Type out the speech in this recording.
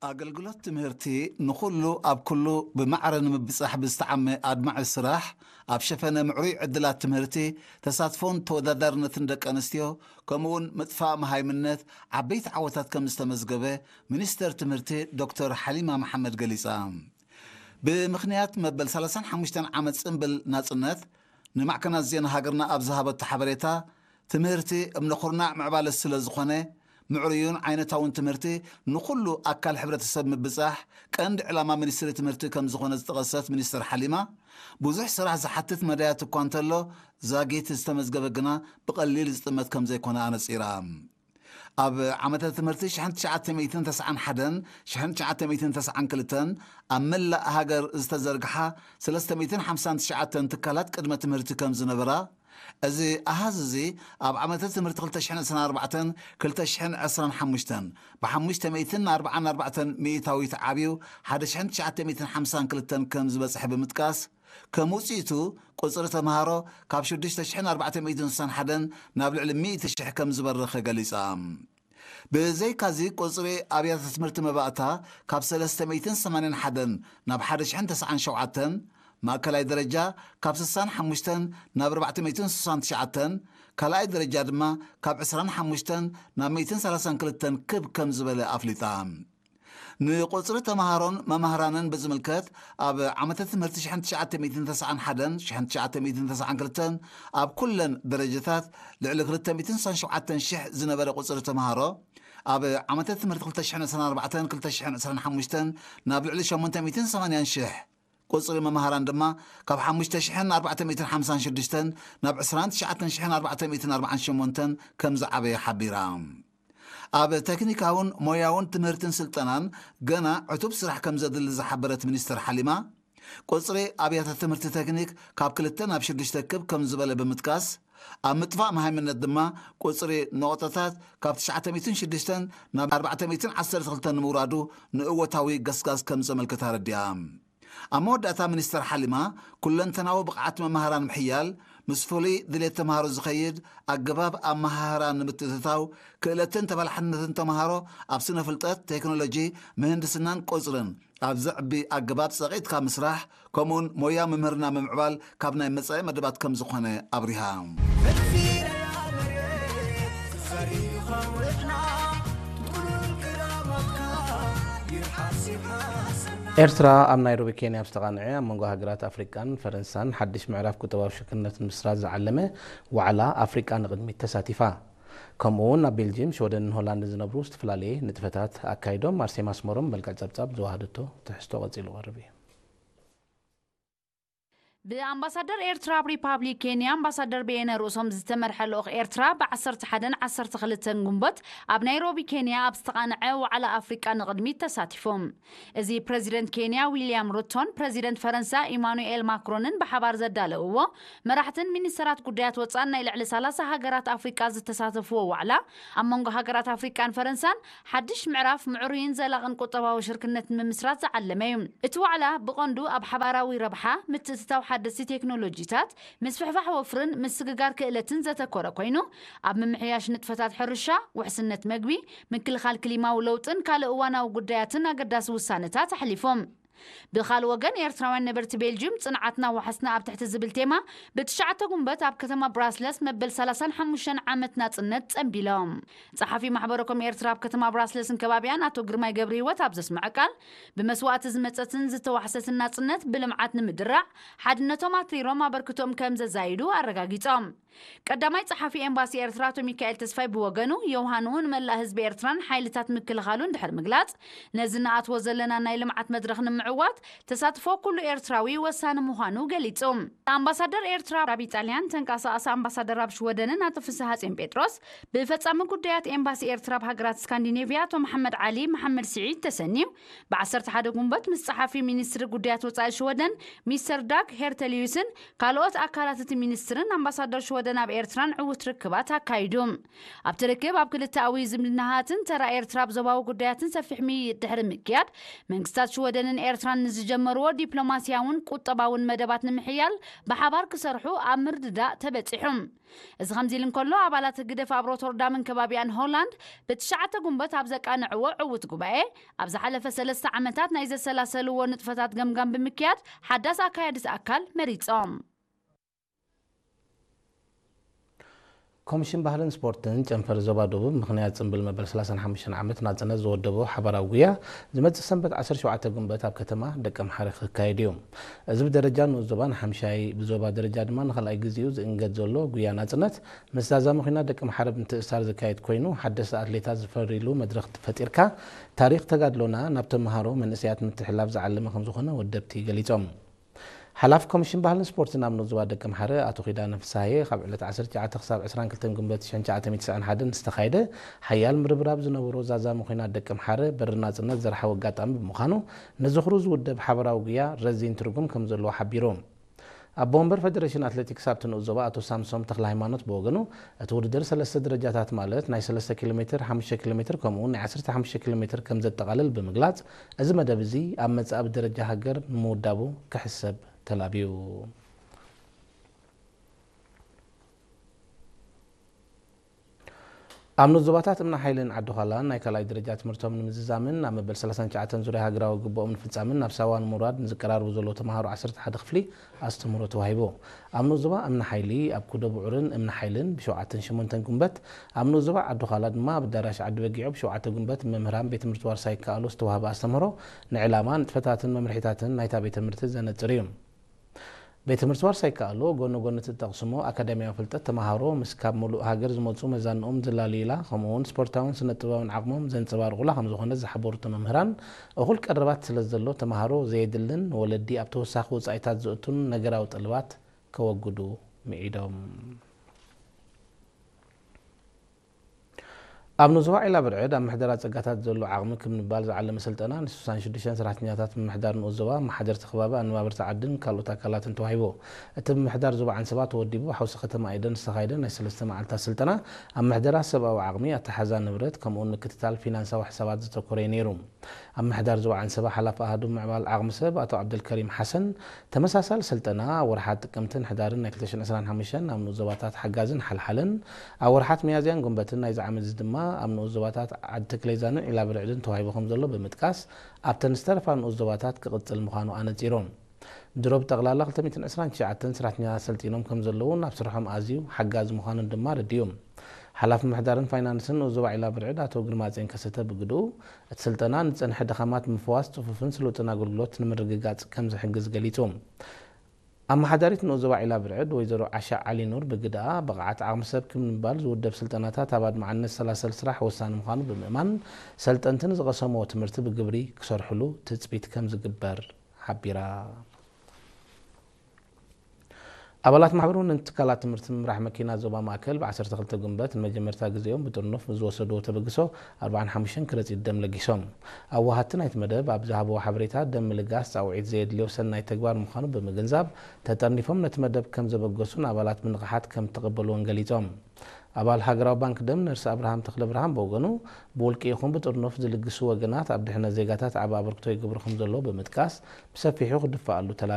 ኣገልግሎት ትምህርቲ ንኹሉ ኣብ ኩሉ ብማዕረ ንምብጻሕ ብዝተዓመ ኣድማዒ ስራሕ፣ ኣብ ሸፈነ ምዕሩይ ዕድላት ትምህርቲ፣ ተሳትፎን ተወዳዳርነትን ደቂ ኣንስትዮ፣ ከምኡውን ምጥፋእ መሃይምነት ዓበይቲ ዓወታት ከም ዝተመዝገበ ሚኒስተር ትምህርቲ ዶክተር ሓሊማ መሓመድ ገሊጻ። ብምኽንያት መበል ሰላሳን ሓሙሽተን ዓመት ጽምብል ናጽነት ንማዕከናት ዜና ሃገርና ኣብ ዝሃበቶ ሓበሬታ፣ ትምህርቲ እምነ ኩርናዕ ምዕባለ ስለ ዝኾነ፣ ምዕሩዩን ዓይነታውን ትምህርቲ ንኹሉ ኣካል ሕብረተሰብ ምብጻሕ ቀንዲ ዕላማ ሚኒስትሪ ትምህርቲ ከም ዝኾነ ዝጠቐሰት ሚኒስትር ሓሊማ፣ ብዙሕ ስራሕ ዝሓትት መዳያት እኳ እንተሎ፣ ዛጊት ዝተመዝገበ ግና ብቐሊል ዝጥመት ከም ዘይኮነ ኣነጺራ። ኣብ ዓመተ ትምህርቲ ሽሕን ትሽዓተ ሚእትን ተስዓን ሓደን ሽሕን ትሽዓተ ሚእትን ተስዓን ክልተን ኣብ መላእ ሃገር ዝተዘርግሓ ሰለስተ ሚእትን ሓምሳን ትሽዓተን ትካላት ቅድመ ትምህርቲ ከም ዝነበራ፣ እዚ ኣሃዝ እዚ ኣብ ዓመተ ትምህርቲ ክልተ ሽሕን ዕስራን ኣርባዕተን ክልተ ሽሕን ዕስራን ሓሙሽተን ብ ሓሙሽተ ሚእትን ኣርባዓን ኣርባዕተን ሚእታዊት ዓብዩ ሓደ ሽሕን ትሽዓተ ሚእትን ሓምሳን ክልተን ከም ዝበጽሐ ብምጥቃስ፣ ከም ውጽኢቱ ቁጽሪ ተምሃሮ ካብ ሽዱሽተ ሽሕን ኣርባዕተ ሚእትን ስሳን ሓደን ናብ ልዕሊ ሚእቲ ሽሕ ከም ዝበረኸ ገሊጻ። ብዘይካዚ ቁጽሪ ኣብያተ ትምህርቲ መባእታ ካብ ሰለስተ ሚእትን ሰማንያን ሓደን ናብ ሓደ ሽሕን ተስዓን ሸውዓተን፣ ማእከላይ ደረጃ ካብ ስሳን ሓሙሽተን ናብ ኣርባዕተ ሚእትን ስሳን ትሽዓተን፣ ካልኣይ ደረጃ ድማ ካብ ዕስራን ሓሙሽተን ናብ ሚእትን ሰላሳን ክልተን ክብ ከም ዝበለ ኣፍሊጣ። ንቁጽሪ ተምሃሮን መማህራንን ብዝምልከት፣ ኣብ ዓመተ ትምህርቲ ሽሕን ትሽዓተ ሚእትን ተስዓን ሓደን ሽሕን ትሽዓተ ሚእትን ተስዓን ክልተን ኣብ ኩለን ደረጃታት ልዕሊ ክልተ ሚእትን ስሳን ሸውዓተን ሽሕ ዝነበረ ቁጽሪ ተምሃሮ፣ ኣብ ዓመተ ትምህርቲ ክልተ ሽሕን ዕስራን ኣርባዕተን ክልተ ሽሕን ዕስራን ሓሙሽተን ናብ ልዕሊ ሸሞንተ ሚእትን ሰማንያን ሽሕ፣ ቁጽሪ መማህራን ድማ ካብ ሓሙሽተ ሽሕን ኣርባዕተ ሚእትን ሓምሳን ሽዱሽተን ናብ ዕስራን ትሽዓተን ሽሕን ኣርባዕተ ሚእትን ኣርባዓን ሸሞንተን ከም ዝዓበየ ሓቢራ። ኣብ ቴክኒካውን ሞያውን ትምህርትን ስልጠናን ገና ዕቱብ ስራሕ ከም ዘድሊ ዝሓበረት ሚኒስትር ሓሊማ፣ ቁጽሪ ኣብያተ ትምህርቲ ቴክኒክ ካብ ክልተ ናብ ሽዱሽተ ክብ ከም ዝበለ ብምጥቃስ፣ ኣብ ምጥፋእ መሃይምነት ድማ ቁጽሪ ነቑጣታት ካብ ትሽዓተ ሚእትን ሽዱሽተን ናብ ኣርባዕተ ሚእትን ዓሰርተ ክልተን ንምውራዱ ንእወታዊ ገስጋስ ከም ዘመልክት ኣረዲኣ። ኣብ መወዳእታ ሚኒስተር ሓሊማ፣ ኩለንተናዊ ብቕዓት መማህራን ምሕያል፣ ምስ ፍሉይ ድሌት ተምሃሮ ዝኸይድ ኣገባብ ኣመሃህራ ንምትእትታው፣ ክእለትን ተበላሕነትን ተምሃሮ ኣብ ስነ ፍልጠት፣ ቴክኖሎጂ፣ ምህንድስናን ቁጽርን ኣብ ዘዕቢ ኣገባብ ጸቒጥካ ምስራሕ፣ ከምኡውን ሞያ ምምህርና ምምዕባል ካብ ናይ መጻኢ መደባት ከም ዝኾነ ኣብሪሃ። ኤርትራ ኣብ ናይሮቢ ኬንያ ኣብ ዝተቓንዐ ኣብ መንጎ ሃገራት ኣፍሪቃን ፈረንሳን ሓድሽ ምዕራፍ ቁጠባዊ ሽርክነት ንምስራት ዝዓለመ ዋዕላ ኣፍሪቃ ንቕድሚት ተሳቲፋ። ከምኡ እውን ኣብ ቤልጅየም፣ ሽወደንን ሆላንድን ዝነብሩ ዝተፈላለየ ንጥፈታት ኣካይዶም። ኣርሴማ ኣስመሮም መልክዕ ጸብጻብ ዝወሃደቶ ትሕዝቶ ቀጺሉ ቀርብ እዩ። ብኣምባሳደር ኤርትራ ኣብ ሪፓብሊክ ኬንያ ኣምባሳደር በየነ ርእሶም ዝተመርሐ ልኡኽ ኤርትራ ብ ዓሰርተ ሓደን ዓሰርተ ክልተን ግንቦት ኣብ ናይሮቢ ኬንያ ኣብ ዝተቓንዐ ዋዕላ ኣፍሪቃ ንቕድሚት ተሳቲፎም። እዚ ፕረዚደንት ኬንያ ዊልያም ሩቶን ፕረዚደንት ፈረንሳ ኢማኑኤል ማክሮንን ብሓባር ዘዳለውዎ፣ መራሕትን ሚኒስተራት ጉዳያት ወጻእን ናይ ልዕሊ ሰላሳ ሃገራት ኣፍሪቃ ዝተሳተፍዎ ዋዕላ፣ ኣብ መንጎ ሃገራት ኣፍሪቃን ፈረንሳን ሓድሽ ምዕራፍ ምዕሩይን ዘላቕን ቁጠባዊ ሽርክነት ንምምስራት ዝዓለመ እዩ። እቲ ዋዕላ ብቐንዱ ኣብ ሓባራዊ ረብሓ፣ ምትእትታው ሓደስቲ ቴክኖሎጂታት፣ ምስፍሕፋሕ ወፍርን ምስግጋር ክእለትን ዘተኮረ ኮይኑ፣ ኣብ ምምሕያሽ ንጥፈታት ሕርሻ፣ ውሕስነት መግቢ፣ ምክልኻል ክሊማዊ ለውጥን ካልእ እዋናዊ ጉዳያትን ኣገዳሲ ውሳነታት ኣሕሊፎም። ብኻልእ ወገን፣ ኤርትራውያን ነበርቲ ቤልጅዩም፣ ጽንዓትና ዋሕስና ኣብ ትሕቲ ዝብል ቴማ፣ ብትሽዓተ ጉንበት ኣብ ከተማ ብራስለስ መበል ሰላሳን ሓሙሽተን ዓመት ናጽነት ጸንቢሎም። ጸሓፊ ማሕበረ ኮም ኤርትራ ኣብ ከተማ ብራስለስን ከባቢኣን ኣቶ ግርማይ ገብረህይወት ኣብ ዘስምዐ ቃል፣ ብመስዋእቲ ዝመጸትን ዝተዋሕሰትን ናጽነት ብልምዓት ንምድራዕ ሓድነቶም ኣትሪሮም ኣበርክቶኦም ከም ዘዛይዱ ኣረጋጊጾም። ቀዳማይ ጸሓፊ ኤምባሲ ኤርትራ ኣቶ ሚካኤል ተስፋይ ብወገኑ፣ ዮውሃኑ ንመላእ ህዝቢ ኤርትራን ሓይልታት ምክልኻሉን ድሕሪ ምግላጽ፣ ነዚ ንኣትዎ ዘለና ናይ ልምዓት መድረኽ ንምዕዋት ተሳትፎ ኩሉ ኤርትራዊ ወሳኒ ምዃኑ ገሊጹ። ኣምባሳደር ኤርትራ ኣብ ኢጣልያን፣ ተንቀሳቓሲ ኣምባሳደር ኣብ ሽወደንን ኣቶ ፍስሃጽዮን ጴጥሮስ፣ ብፈጻሚ ጉዳያት ኤምባሲ ኤርትራ ኣብ ሃገራት ስካንዲኔቭያ ኣቶ መሓመድ ዓሊ መሓመድ ስዒድ ተሰንዩ፣ ብ ዓሰርተ ሓደ ጉንበት ምስ ጸሓፊ ሚኒስትሪ ጉዳያት ወጻኢ ሽወደን ሚስተር ዳግ ሄርተሊዩስን ካልኦት ኣካላት እቲ ሚኒስትርን ኣምባሳደር ሽወደን ኣብ ኤርትራን ዕዉት ርክባት ኣካይዱ። ኣብቲ ርክብ ኣብ ክልተኣዊ ዝምድናታትን ተራ ኤርትራ ኣብ ዞባዊ ጉዳያትን ሰፊሕ ምይይጥ ድሕሪ ምክያድ፣ መንግስታት ሽወደንን ኤርትራን ንዝጀመርዎ ዲፕሎማስያውን ቁጠባውን መደባት ንምሕያል ብሓባር ክሰርሑ ኣብ ምርድዳእ ተበጺሑ። እዚ ከምዚ ኢሉ እንከሎ፣ ኣባላት ህግደፍ ኣብ ሮተርዳምን ከባቢኣን ሆላንድ ብትሽዓተ ጉንበት ኣብ ዘቃንዕዎ ዕዉት ጉባኤ፣ ኣብ ዝሓለፈ ሰለስተ ዓመታት ናይ ዘሰላሰልዎ ንጥፈታት ገምጋም ብምክያድ ሓዳስ ኣካያዲት ኣካል መሪጾም። ኮሚሽን ባህልን ስፖርትን ጨንፈር ዞባ ደቡብ ምኽንያት ጽምብል መበል ሰላሳን ሓሙሽተን ዓመት ናጽነት ዝወደቦ ሓባራዊ ጉያ ዝመጽእ ሰንበት ዓሰርተ ሸውዓተ ጉንበት ኣብ ከተማ ደቀምሓረ ክካየድ እዩ። እዚ ብደረጃ ንኡስ ዞባ ንሓምሻይ፣ ብዞባ ደረጃ ድማ ንኻልኣይ ግዜኡ ዝእንገድ ዘሎ ጉያ ናጽነት፣ ምስ ዛዛ መኺና ደቀምሓረ ብምትእስሳር ዝካየድ ኮይኑ፣ ሓደስቲ ኣትሌታት ዝፈርይሉ መድረኽ ፈጢርካ፣ ታሪኽ ተጋድሎና ናብ ተምሃሮ መንእሰያት ምትሕልላፍ ዝዓለመ ከምዝኾነ ወደብቲ ገሊጾም። ሓላፊ ኮሚሽን ባህልን ስፖርትን ኣብ ንኡስ ዞባ ደቀምሓረ ኣቶ ኪዳነ ፍስሃየ፣ ካብ ዕለት ዓሰርተ ትሽዓተ ክሳብ ዕስራን ክልተን ጉንበት ሽሕን ትሽዓተ ሚእትን ትስዓን ሓደን ዝተኻየደ ሓያል ምርብራብ ዝነበሮ ዛዛ መኺና ደቀምሓረ በሪ ናጽነት ዘርሓዊ ኣጋጣሚ ብምዃኑ፣ ንዝኽሩ ዝውደብ ሓባራዊ ጉያ ረዚን ትርጉም ከም ዘለዎ ሓቢሩ። ኣቦ ወንበር ፈደረሽን ኣትሌቲክስ ኣብቲ ንኡስ ዞባ ኣቶ ሳምሶም ተኽለሃይማኖት ብወገኑ፣ እቲ ውድድር ሰለስተ ደረጃታት ማለት ናይ ሰለስተ ኪሎ ሜትር፣ ሓሙሽተ ኪሎ ሜትር ከምኡ እውን ናይ ዓሰርተ ሓሙሽተ ኪሎ ሜትር ከም ዘጠቓልል ብምግላጽ፣ እዚ መደብ እዚ ኣብ መጻኢ ብደረጃ ሃገር ንምውዳቡ ክሕሰብ ተላብዩ። ኣብ ንኡስ ዞባታት እምኒ ሓይልን ዓዲ ዃላን ናይ ካልኣይ ደረጃ ትምህርቶም ንምዝዛምን ኣብ መበል ሰላሳን ትሽዓተን ዙርያ ሃገራዊ ግቡኦም ንፍጻምን ናብ ሳዋ ንምውራድ ንዝቀራረቡ ዘለዉ ተምሃሮ ዓሰርተ ሓደ ክፍሊ ኣስተምህሮ ተዋሂቡ። ኣብ ንኡስ ዞባ እምኒ ሓይሊ ኣብ ኩዶ ብዑርን እምኒ ሓይልን ብሸውዓተን ሸሞንተን ጉንበት፣ ኣብ ንኡስ ዞባ ዓዲ ዃላ ድማ ኣብ ኣዳራሽ ዓዲ በጊዖ ብሸውዓተ ጉንበት መምህራን ቤት ትምህርቲ ዋርሳይ ይከኣሎ ዝተዋህበ ኣስተምህሮ ንዕላማ፣ ንጥፈታትን መምርሒታትን ናይታ ቤት ትምህርቲ ዘነጽር እዩ። ቤት ትምህርቲ ዋርሳይ ይከኣሎ ጎኒ ጎኒ እትጠቕስሞ ኣካዳሚያዊ ፍልጠት ተምሃሮ ምስ ካብ ሙሉእ ሃገር ዝመጹ መዛንኦም ዝላልዩላ፣ ከምኡ እውን ስፖርታውን ስነ ጥበባውን ዓቕሞም ዘንጸባርቑላ ከም ዝኾነ ዝሓበሩ እቶም መምህራን፣ እኹል ቀረባት ስለ ዘሎ ተምሃሮ ዘየድልን ንወለዲ ኣብ ተወሳኺ ወጻኢታት ዘእቱን ነገራዊ ጠለባት ከወግዱ ምዒዶም። ኣብ ንኡስ ዞባ ዒላ ብርዕድ ኣብ ምሕደራ ጸጋታት ዘሎ ዓቕሚ ክምንባል ዝዓለመ ስልጠና ንስሳን ሽዱሽተን ሰራሕተኛታት ምምሕዳር ንኡስ ዞባ፣ መሓደርቲ ከባቢ፣ ኣነባበርቲ ዓድን ካልኦት ኣካላትን ተዋሂቡ። እቲ ምምሕዳር ዞባ ዓንሰባ ተወዲቡ ሓውሲ ከተማ ኤደን ዝተኻየደ ናይ ሰለስተ መዓልታት ስልጠና ኣብ ምሕደራ ሰብኣዊ ዓቕሚ፣ ኣተሓዛ ንብረት ከምኡውን ምክትታል ፊናንሳዊ ሕሳባት ዘተኮረ እዩ ነይሩ። ኣብ ምሕዳር ዞባ ዓንሰባ ሓላፊ ኣሃዱ ምዕባል ዓቕሚ ሰብ ኣቶ ዓብደልከሪም ሓሰን፣ ተመሳሳሊ ስልጠና ኣብ ወርሓት ጥቅምትን ሕዳርን ናይ ክልተ ሽሕን ዕስራን ሓሙሽተን ኣብ ንኡስ ዞባታት ሓጋዝን ሓልሓልን፣ ኣብ ወርሓት ሚያዝያን ጉንበትን ናይዚ ዓመት እዚ ድማ ኣብ ንኡስ ዞባታት ዓዲ ተክሌዛንን ዒላ ብርዕድን ተዋሂቡ ከም ዘሎ ብምጥቃስ፣ ኣብተን ዝተረፋ ንኡስ ዞባታት ክቕጽል ምዃኑ ኣነጺሮም። ድሮ ብጠቕላላ ክልተ ሚእትን ዕስራን ትሽዓተን ሰራሕተኛታት ሰልጢኖም ከም ዘለውን ኣብ ስርሖም ኣዝዩ ሓጋዚ ምዃኑን ድማ ኣረዲኡ። ሓላፊ ምምሕዳርን ፋይናንስን ንኡስ ዞባ ዒላ ብርዕድ ኣቶ ግርማጼን ከሰተ ብግድኡ፣ እቲ ስልጠና ንጸንሐ ድኻማት ምፍዋስ፣ ጽፉፍን ስሉጥን ኣገልግሎት ንምርግጋጽ ከም ዝሕግዝ ገሊጹ። ኣመሓዳሪት ንኡስ ዞባ ዒላ ብርዕድ ወይዘሮ ዓሻ ዓሊ ኑር ብግደኣ፣ ብቕዓት ዓቕሚ ሰብ ክምንባል ዝውደብ ስልጠናታት ኣብ ኣድማዕነት ሰላሰል ስራሕ ወሳኒ ምዃኑ ብምእማን፣ ሰልጠንቲ ንዝቐሰምዎ ትምህርቲ ብግብሪ ክሰርሕሉ ትጽቢት ከም ዝግበር ሓቢራ። ኣባላት ማሕበርን ትካላት ትምህርቲ ምምራሕ መኪና ዞባ ማእከል ብ ዓሰርተ ክልተ ጉንበት ንመጀመርታ ግዜኦም ብጥርኑፍ ብዝወሰድዎ ተበግሶ ኣርባዓን ሓሙሽተን ከረጺት ደም ለጊሶም። ኣዋሃድቲ ናይቲ መደብ ኣብ ዝሃብዎ ሓበሬታ፣ ደም ምልጋስ ጻውዒት ዘየድልዮ ሰናይ ተግባር ምዃኑ ብምግንዛብ፣ ተጠርኒፎም ነቲ መደብ ከም ዘበገሱን ኣባላት ብንቕሓት ከም እተቐበልዎን ገሊጾም። ኣባል ሃገራዊ ባንክ ደም ነርስ ኣብርሃም ተኽለብርሃን ብወገኑ፣ ብውልቂ ይኹን ብጥርኑፍ ዝልግሱ ወገናት ኣብ ድሕነት ዜጋታት ዓቢ ኣበርክቶ ይገብሩ ከም ዘለዉ ብምጥቃስ፣ ብሰፊሑ ክድፈኣሉ ተላብዩ።